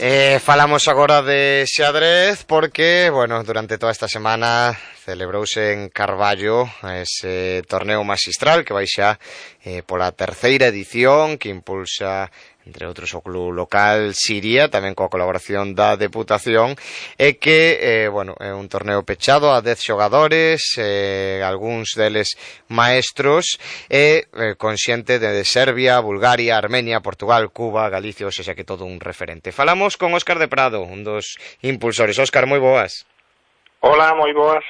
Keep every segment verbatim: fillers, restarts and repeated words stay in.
Eh, falamos agora de xadrez porque, bueno, durante toda esta semana celebrouse en Carballo ese torneo maxistral que vai xa eh, pola terceira edición, que impulsa entre outros o club local Siria, tamén coa colaboración da Deputación, e que, eh, bueno, é un torneo pechado a dez xogadores, eh, algúns deles maestros, e eh, con xente de Serbia, Bulgaria, Armenia, Portugal, Cuba, Galicia, ou seja que todo un referente. Falamos con Óscar de Prado, un dos impulsores. Óscar, moi boas. Hola, moi boas.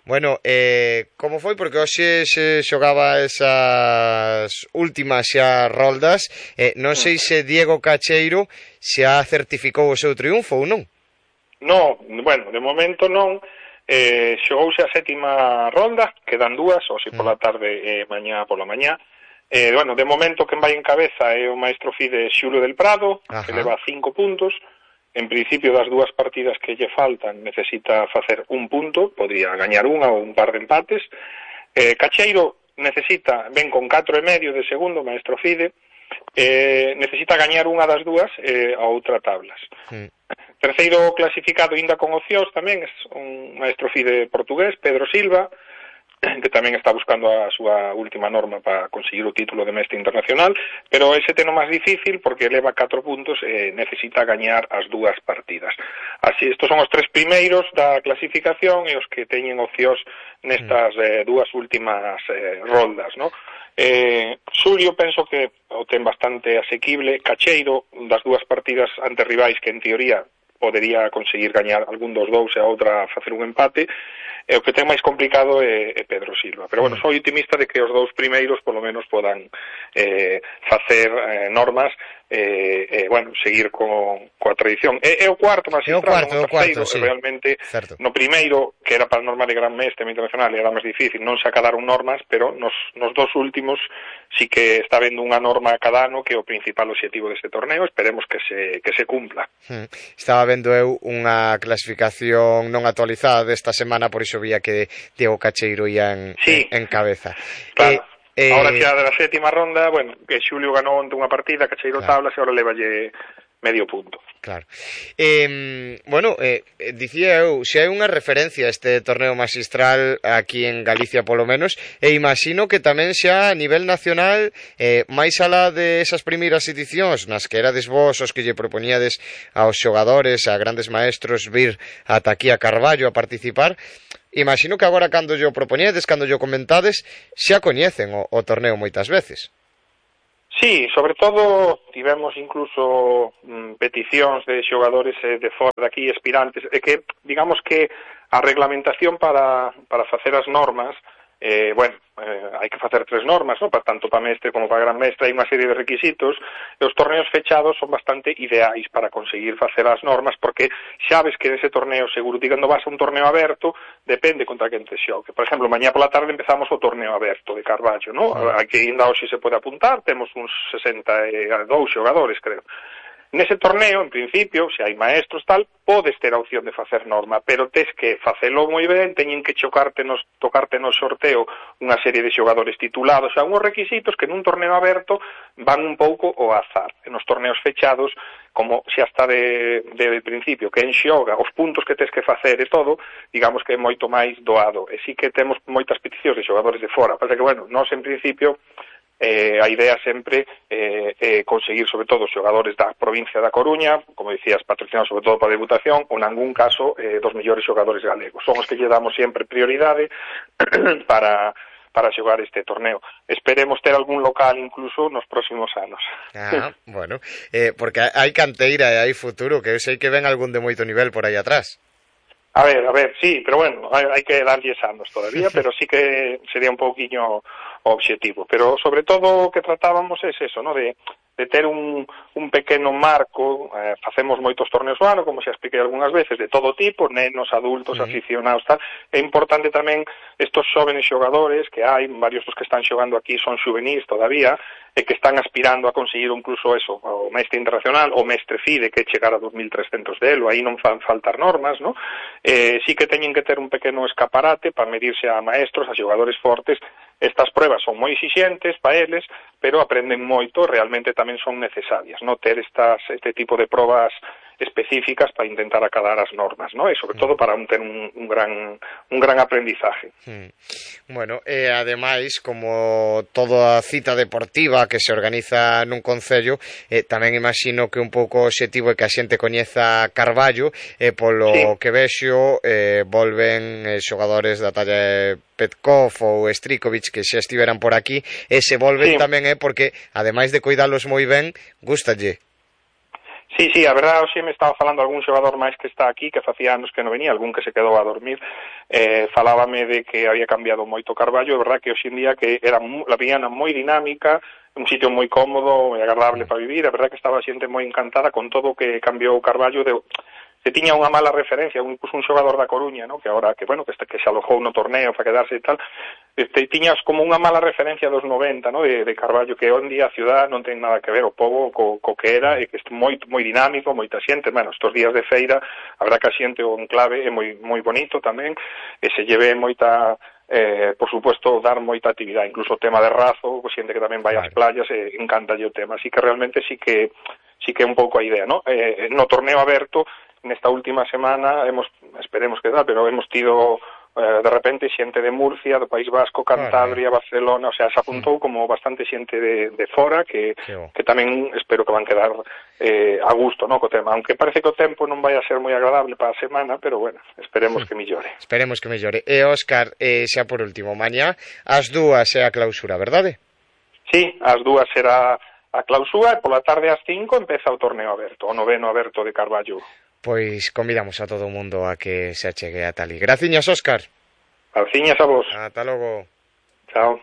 Bueno, eh, como foi? Porque hoxe se xogaba esas últimas xa roldas. Eh, non sei se Diego Cacheiro xa certificou o seu triunfo ou non. No, bueno, de momento non. Eh, xogouse a sétima rolda, quedan dúas, hoxe pola tarde e mañá pola mañá. Eh, bueno, de momento quen vai en cabeza é o maestro Fide Xulo del Prado, Ajá. que leva cinco puntos. En principio, das dúas partidas que lle faltan, necesita facer un punto, podría gañar unha ou un par de empates. Eh, Cacheiro necesita, ven con catro e medio de segundo, maestro Fide, eh, necesita gañar unha das dúas e eh, a outra tablas. Sí. Terceiro clasificado, ainda con opcións tamén, é un maestro Fide portugués, Pedro Silva, que tamén está buscando a súa última norma para conseguir o título de mestre internacional, pero ese teno máis difícil porque leva catro puntos e necesita gañar as dúas partidas. Así, estos son os tres primeiros da clasificación e os que teñen opcións nestas eh, dúas últimas eh, roldas, ¿no? Eh, Xulio penso que o ten bastante asequible. Cacheiro, das dúas partidas ante rivais que en teoría podería conseguir gañar algún dos dous e a outra facer un empate, e o que ten máis complicado é, é Pedro Silva. Pero, bueno, sou optimista de que os dous primeiros, polo menos, podan eh, facer eh, normas e, eh, eh, bueno, seguir co, coa tradición. E, e o cuarto, máis central, o cuarto, sí. realmente, certo. No primeiro, que era para a norma de Gran Mestre Internacional, era máis difícil, non se acadaron normas, pero nos, nos dos últimos sí que está vendo unha norma cada ano, que é o principal objetivo deste torneo, esperemos que se, que se cumpla. Hmm. Estaba vendo eu unha clasificación non actualizada desta semana, por iso vía que Diego Cacheiro ia en, sí. en, en cabeza. Claro. Eh, ahora xa da sétima ronda, bueno, que Xulio ganou onte unha partida, Cacheiro claro. tablas, e ahora levalle medio punto. Claro. Eh, bueno, eh, dicía eu, se hai unha referencia a este torneo maxistral aquí en Galicia polo menos, e imagino que tamén xa a nivel nacional, eh, máis alá de esas primeiras edicións nas que erades vos os que lle propoñíades aos xogadores, a grandes maestros vir ata aquí a Carballo a participar, imagino que agora cando yo propoñedes, cando yo comentades, xa coñecen o, o torneo moitas veces. Sí, sobre todo tivemos incluso mm, peticións de xogadores eh, de fora de aquí, aspirantes, e que, digamos que a reglamentación para, para facer as normas, eh, bueno, eh, hai que facer tres normas, ¿no? Para tanto para mestre como para gran mestre, hai unha serie de requisitos, e os torneos fechados son bastante ideais para conseguir facer as normas, porque sabes que nese torneo seguro, digando vas a un torneo aberto, depende contra quen te xogue. Por exemplo, mañá pola tarde empezamos o torneo aberto de Carballo, ¿no? Aquí ainda hoxe se pode apuntar, temos uns sesenta e dous xogadores, creo. Nese torneo, en principio, se hai maestros tal, podes ter a opción de facer norma, pero tes que facelo moi ben, teñen que chocarte nos, tocarte no sorteo unha serie de xogadores titulados, xa unhos requisitos que nun torneo aberto van un pouco ao azar. En os torneos fechados, como xa está de, de, de principio, que en xoga, os puntos que tes que facer e todo, digamos que é moito máis doado. E sí que temos moitas peticións de xogadores de fora, pasa que, bueno, nós en principio Eh, a idea sempre é eh, eh, conseguir sobre todo xogadores da provincia da Coruña, como dicías, patrocinados sobre todo para a Deputación, ou nangún caso eh, dos mellores xogadores galegos. Son os que lle damos sempre prioridade para para xogar este torneo. Esperemos ter algún local incluso nos próximos anos. Ah, bueno, eh, porque hai canteira e hai futuro, que eu sei que ven algún de moito nivel por aí atrás. A ver, a ver, sí, pero bueno, hai, hai que darlles anos todavía, pero sí que sería un pouquiño o objetivo. Pero sobre todo o que tratábamos é eso, ¿no? De, de ter un, un pequeno marco, eh, facemos moitos torneos ao ano, como xa expliquei algunhas veces, de todo tipo, nenos, adultos, uh-huh. aficionados, tal. É importante tamén estos xóvenes xogadores que hai, varios dos que están xogando aquí son xuvenís todavía, e que están aspirando a conseguir incluso eso, o mestre internacional, o mestre FIDE, que chegar a dos mil trescentos delo, aí non fan faltar normas, ¿no? Eh, sí que teñen que ter un pequeno escaparate para medirse a maestros, a xogadores fortes. Estas pruebas son moi exixentes para eles, pero aprenden moito, realmente tamén son necesarias, ¿no? Ter estas, este tipo de probas específicas para intentar acadar as normas, ¿no? E sobre todo para un, ter un, un gran un gran aprendizaje. Mm. Bueno, e ademais, como toda cita deportiva que se organiza nun concello, eh, tamén imagino que un pouco o obxectivo é que a xente coñeza Carballo, e polo sí. que vexo eh, volven eh, xogadores da talla de Petkov ou Strikovic que xa estiveran por aquí, e se volven sí. tamén é eh, porque, ademais de cuidalos moi ben, gustalle. Sí, sí, a verdade, hoxe me estaba falando algún xogador máis que está aquí, que facía anos que non venía, algún que se quedou a dormir, eh, falábame de que había cambiado moito Carballo, é verdade que hoxe en día que era la viñana moi dinámica, un sitio moi cómodo, moi agradable para vivir, é verdade que estaba a xente moi encantada con todo o que cambiou Carballo, de, se tiña unha mala referencia, incluso un xogador da Coruña, ¿no? Que agora, que bueno, que, este, que se alojou no torneo para quedarse e tal, este, tiñas como unha mala referencia dos noventa, ¿no? De, de Carballo, que hoxe en día a ciudad non ten nada que ver o pobo co, co que era, e que é moi, moi dinámico, moita xente, bueno, estos días de feira, a verdad que a xente o enclave é moi, moi bonito tamén, e se lleve moita... Eh, por supuesto, dar moita actividade, incluso o tema de Razo, xente que tamén vai ás playas, eh, encanta o tema, así que realmente sí que sí que é un pouco a idea, ¿no? Eh, no torneo aberto, nesta última semana, hemos, esperemos que dá, pero hemos tido eh, de repente xente de Murcia, do País Vasco, Cantabria, vale. Barcelona, o sea, se apuntou sí. como bastante xente de, de fora que, que tamén espero que van quedar eh, a gusto, ¿no? Co tema, aunque parece que o tempo non vai a ser moi agradable para a semana, pero bueno, esperemos sí. que millore. Esperemos que millore. E Óscar, eh, xa por último, mañá as dúas é a clausura, verdade? Sí, as dúas será a clausura e pola tarde ás cinco empeza o torneo aberto, o noveno aberto de Carballo. Pois convidamos a todo o mundo a que se achegue a tali. Graciñas, Óscar. Graciñas a vos. Ata logo. Chao.